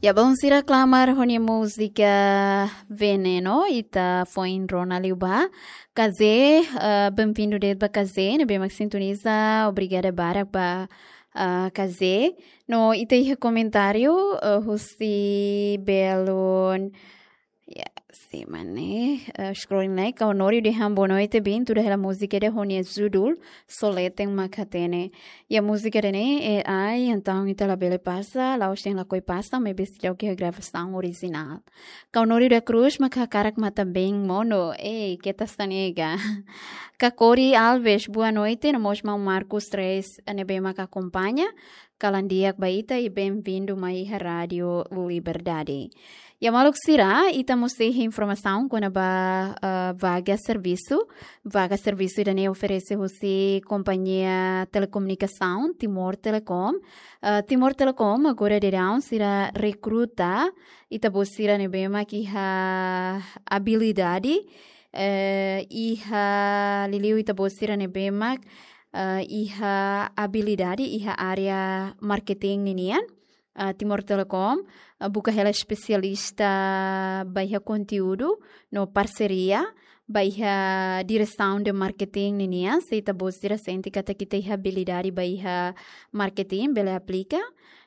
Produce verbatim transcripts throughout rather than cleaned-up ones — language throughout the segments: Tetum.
Ya, belun sira, klamar ho nia múzika Veneno, ita foin rona liu ba. Kazé, eh, benvindu de'it ba Kazé, ne'ebé mak sintoniza, obrigada barak ba, eh, Kazé. No ita iha komentáriu, eh, husi belun, ya, si mane, eh, scrolling like, Kau Nori dehan boa noite, bin, tuda hela múzika ida ho nia judul, Soleten mak hatene. Ya, múzika ida-ne'e, eh, ai, entaun ita labele pasa, la'ós dehan lakohi pasa, maibé seidauk iha gravasaun orijinál. Kau Nori da Cruz mak hakarak matan-been monu, ei, keta sa nega. Kakori Alves, boa noite, no mós maun Marcos Reis, ne'ebé mak akompaña, kalan di'ak ba ita i benvindu mai iha Rádiu Liberdade. Ya, maluk sira, ita mós iha informasaun kona-ba, eh, vaga servisu. Vaga servisu ida-ne'e oferese husi kompañia telekomunikasaun, Timor Telecom. Eh, Timor Telecom agora daudaun sira rekruta ita-boot sira ne'ebé mak iha abilidade, eh, iha liuliu ita-boot sira ne'ebé mak, eh, iha abilidade iha área marketing ninian. Ah, Timor Telecom, ah, buka hela espesialista ba iha konteúdu no parseria ba iha diresaun de marketing ninian, se ita-boot sira sente katak ita iha abilidade ba iha marketing, bele aplika.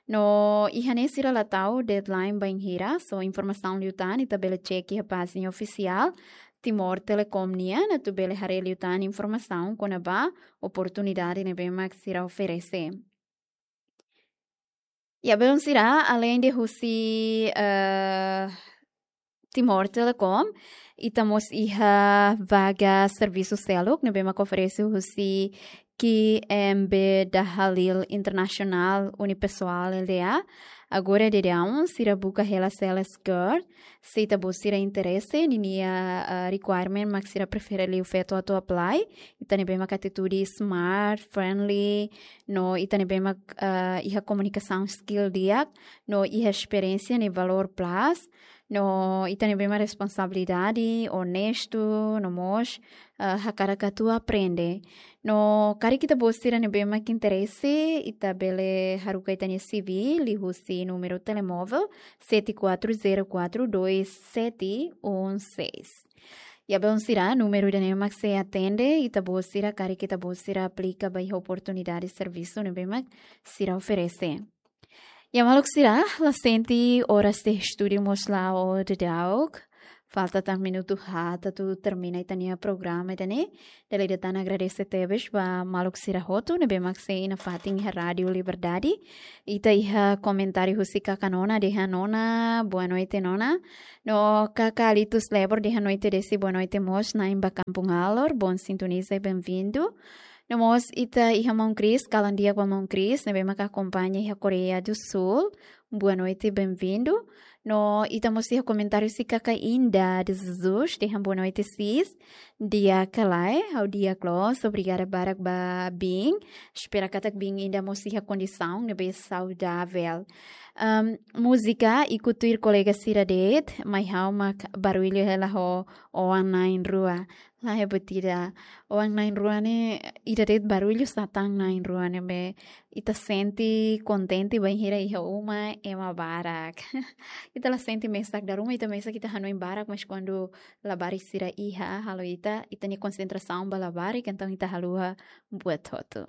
No iha ne'e sira la tau deadline bainhira, so informasaun liután ita bele cek iha pájina ofisiál Timor Telecom nian, atu bele haree liután informasaun kona-ba oportunidade ne'ebé mak sira oferese. Ya, belun sira, além de husi, eh, Timor Telecom, ita mós iha vaga servisu seluk ne'ebé mak oferese husi Q M B Dahalil International Unipessoal L D A. Agora daudaun sira buka hela sales girl. Se ita-boot sira interese, ninia, ah, requirement mak sira prefere liu feto atu apply. Ita ne'ebé mak atitude smart, friendly, no ita ne'ebé mak, ah, iha komunikasaun skill di'ak, no iha esperiénsia ne'e valór plus, no ita ne'ebé mak responsabilidade, onestu, no mós, ah, hakarak atu aprende. No karik ita-boot sira ne'ebé mak interese, ita bele haruka ita-nia C V liuhusi númeru telemóvel sete quatro zero quatro dois sete um seis. Ya, belun sira, númeru ida-ne'e mak sei atende ita-boot sira karik ita-boot sira aplika ba iha oportunidade servisu ne'ebé mak sira oferese. Ya, maluk sira, la sente oras de estúdiu mós la'o daudauk. Falta tan minutu haat atu termina ita-nia programa ida-ne'e. Dala ida tan agradese tebes ba maluk sira hotu ne'ebé mak sei nafatin iha Rádiu Liberdade. Ita iha komentáriu husi kaka Nona, dehan Nona, boa noite, Nona. No kaka Alitus Lebor, dehan noite Desi, boa noite mós, na'in ba Kampung Alor, bom sintoniza i benvindu. No mós ita iha maun Chris, kalan di'ak ba maun Chris, ne'ebé mak akompaña iha Koreia do Sul. Boa noite, benvindu. No ita mós iha komentáriu husi kaka Inda de Jesus, dehan boa noite sis. Di'ak ka lae, ha'u di'ak loos, obrigada barak ba biin. Espera katak biin Inda mós iha kondisaun ne'ebé saudavel. Am, múzika ikus tuir kolega sira de'it, mai ha'u mak barullu hela ho oan na'in-rua. Lae, buat ida. Oan na'in-rua ne'e, ida de'it barullu sá tan na'in-rua ne'ebé ita sente kontente bainhira iha uma ema barak. Ita la sente mesak, dala ruma ita mesak ita hanoin barak, mas kuandu labarik sira iha halo ita, ita-nia konsentrasaun ba labarik, entaun ita haluha buat hotu.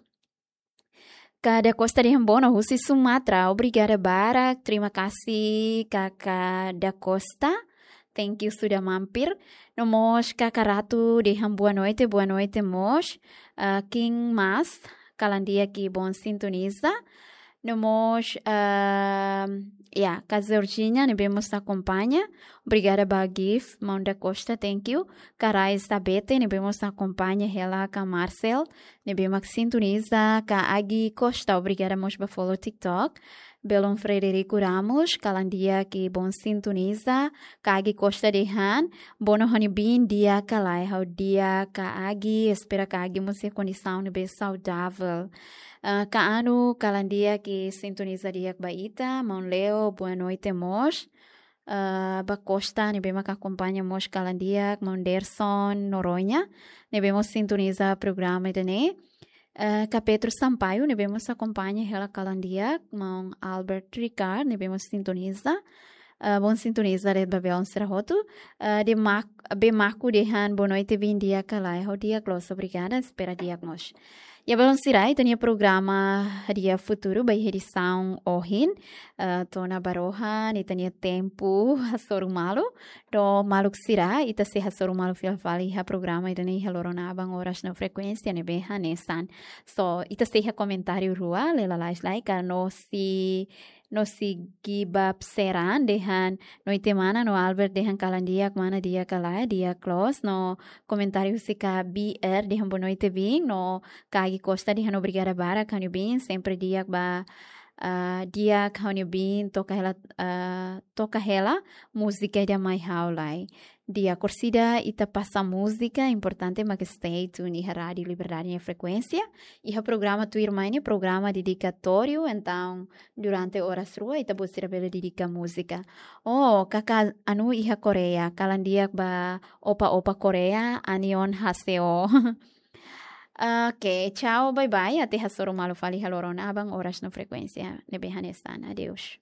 Kaka Da Costa dehan boa noite husi Sumatra. Obrigada barak. Terima kasih, Kaka Da Costa. Thank you sudah mampir. No mós Kaka Ratu dehan boa noite, boa noite mós. Ah, King Mas, kalan di'ak i bom sintoniza. No mós, ah, ya, Kaka Georgina, ne'ebé mós akompaña. Obrigada ba gift, maun Da Costa, thank you. Kaka Rais Tabete, ne'ebé mós akompaña hela, Kaka Marcel, ne'ebé mak sintoniza, Kaka Agi Costa, obrigada mós ba follow TikTok. Belun Frederico Ramos, kalan di'ak i bom sintoniza, Kaka Agi Costa dehan, boa noite, ha'u-nia biin di'ak ka lae, ha'u di'ak Kaka Agi, espera Kaka Agi mós iha kondisaun ne'ebé saudavel. Ah, Kaka Anu, kalan di'ak i sintoniza di'ak ba ita, maun Leo, boa noite mós. Ah, ba Costa, ne'ebé mak akompaña mós kalan di'ak, maun Derson Noronha, ne'ebé mós sintoniza programa ida-ne'e. Eh, ka Petro Sampaio, ne'ebé mós akompaña hela kalan di'ak, maun Albert Ricard, ne'ebé mós sintoniza. Eh, bom sintoniza de'it ba belun sira hotu. Eh, de mak-, be Maku dehan boa noite, bin di'ak ka lae, ha'u di'ak loos, obrigada, espera di'ak mós. Ya belun sira, ita-nia programa Dia Futuru ba iha edisaun ohin, eh, to'o ona ba rohan, ita-nia tempu hasoru malu. No maluk sira, ita sei hasoru malu fila fali iha programa ida-ne'e iha loron aban oras no frekuénsia ne'ebé hanesan. So, ita sei iha komentáriu rua, Lela Lais Laika, no si, no si Giba Pseran dehan, noite mana, no Albert dehan kalan di'ak mana, di'ak ka lae, di'ak loos, no komentáriu husi ka B R dehan boa noite bin, no Kagi Costa dehan obrigada barak ha'u-nia bin, sempre di'ak ba, ah, di'ak ha'u-nia bin, toka hela, ah, toka hela múzika ida mai ha'u lai. Di'ak, orsida ita pasa múzika, importante mak stay tune iha Rádio Liberdade nia frekuénsia. Iha programa tuirmai ne'e, programa dedikatóriu, entaun durante oras rua ita-boot sira bele dedika múzika. Oh, kaka Anu iha Koreia, kalan di'ak ba opa-opa Koreia, Annyeonghaseyo. Oke, tchau, bye bye. Até hasoru malu fali iha loron aban oras no frekuénsia ne'ebé hanesan. Adeus.